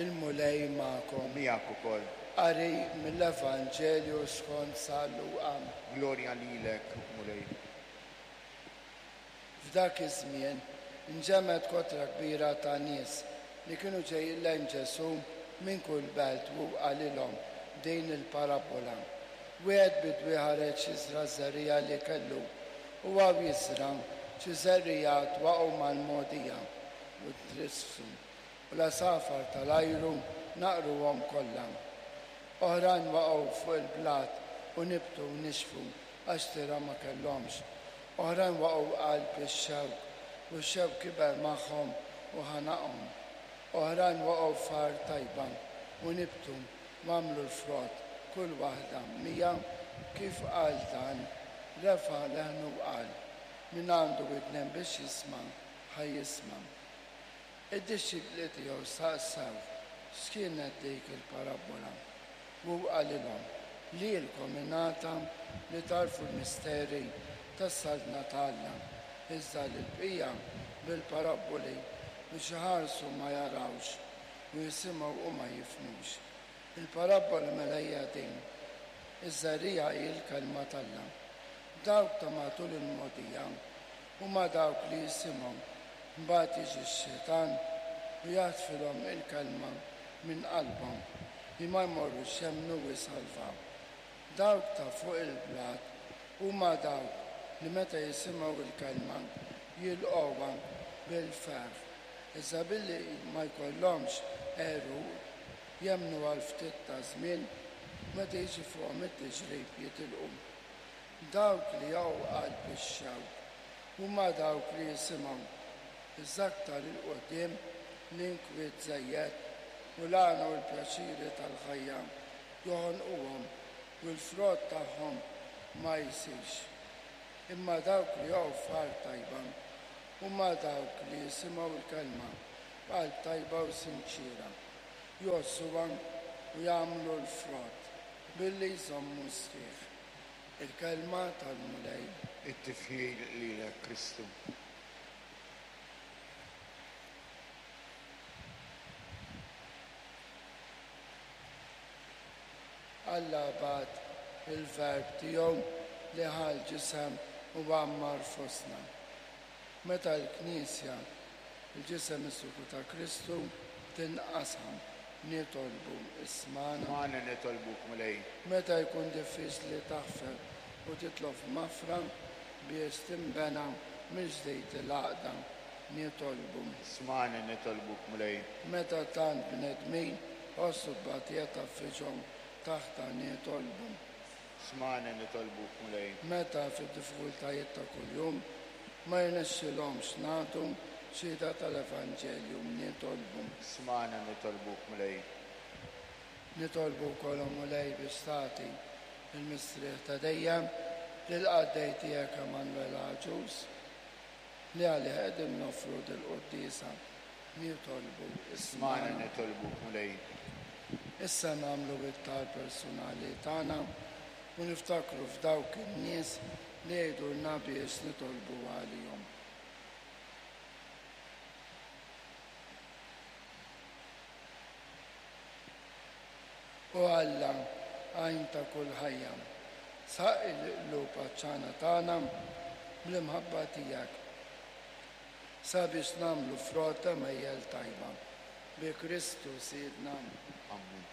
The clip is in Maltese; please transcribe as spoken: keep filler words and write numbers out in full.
Il-Mulej magħkom. Miegħek ukoll. Qari mill-Evanġelju skont San Luqa. Glorja lilek, Mulej. F'dak iż-żmien inġemgħet kotra kbira ta' nies li kienu ġejjin lejn Ġesù minn kull belt u qalilhom din il-parabbola. Wieħed bidwi ħareġ jiżra' żerriegħa li kellu u hawn jiżra' xi żerriegħat waqgħu mal-mogħdija u trissu u l-għasafar tal-ajru naqruhom kollha. Oħrajn waqgħu fuq il-blat u nibtu u nixfu għax tira ma kellhomx. Oħrajn waqgħu qalb ix-xewk u x-xewk kiber magħhom u ħanaqhom. Oħrajn waqgħu f'art tajba u nibtu u għamlu l-frott kull waħda mija. Kif qal dan, refa' leħnu u qal, min għandu widnejn biex jisma' ħa jisma'. Id-dixxipli tiegħu staqsew x'kienet dik il-parabbola. U qalilhom, lilkom ingħata li tagħrfu l-misteri tas-saltna ta' Alla, iżda lill-bqija bil-parabboli biex iħarsu ma jarawx u jisimgħu u ma jifhmux. Il-parabbola mela hija din. Iż-żerriegħa hi l-kelma t'Alla. Dawk ta' matul il-mogħdija huma dawk li jisimgħu, mbagħad jiġi x-xitan u jaħtfilhom il-kelma minn qalbhom li ma jmorrux jemmnu u jsalvaw. Dawk ta' fuq il-blat huma dawk li meta jisimgħu il-kelma jilqgħuha bil-ferħ, iżda billi ma jkollhomx għeruq jemmnu għal ftit ta' żmien, meta jiġi fuqhom it-tiġrib jitilqu. Dawk li jaqgħu qalb ix-xewk huma dawk li jisimgħu, iżda aktar 'il quddiem l-inkwiet żejjed u l-għana u l-pjaċiri tal-ħajja joħonquhom u l-frott tagħhom ma jsirx. Imma dawk li jaqgħu f'art tajba huma dawk li jisimgħu l-kelma b'qalb tajba u sinċiera, jgħożżuha u jagħmlu l-frott billi jżommu sħiħ. Il-kelma tal-Mulej. It-tifħir lilek, Kristu. Alla bagħat il-verb tiegħu li ħa l-ġisem u għammar fostna. Meta l-Knisja, il-ġisem mistiku ta' Kristu, tinqasam, nitolbu ismagħna. Ismagħna nitolbuk, Mulej. Meta jkun diffiċli taħfer u titlob maħfra biex tinbena mill-ġdid il-għaqda, nitolbu. Ismagħna nitolbuk, Mulej. Meta tant bnedmin ħossu tbatija tgħaffiġhom taħta, nitolbu. Ismagħna nitolbuk, Mulej. Meta fid-diffikultajiet ta' kuljum ma jirnexxilhomx nagħtu xhieda tal-Evanġelju, nitolbu. Ismagħna nitolbuk, Mulej. Nitolbu wkoll, Mulej, biex tagħti il-mistrieħ ta' dejjem lill-qaddej tiegħek Emanuel Agius, li għalih qegħdin noffru dil-quddiesa. Nitolbu. Ismagħna nitolbuk, Mulej. Issa nagħmlu it-talb personali tagħna u niftakru f'dawk in-nies li jgħidulna biex nitolbu għalihom. O Alla, għajn ta' kull ħajja, saqqi l-qlub għatxana tagħna bl-imħabba tiegħek, sabiex nagħmlu frott ta' mejjel tajba. Bi Kristu Sidna. Amen.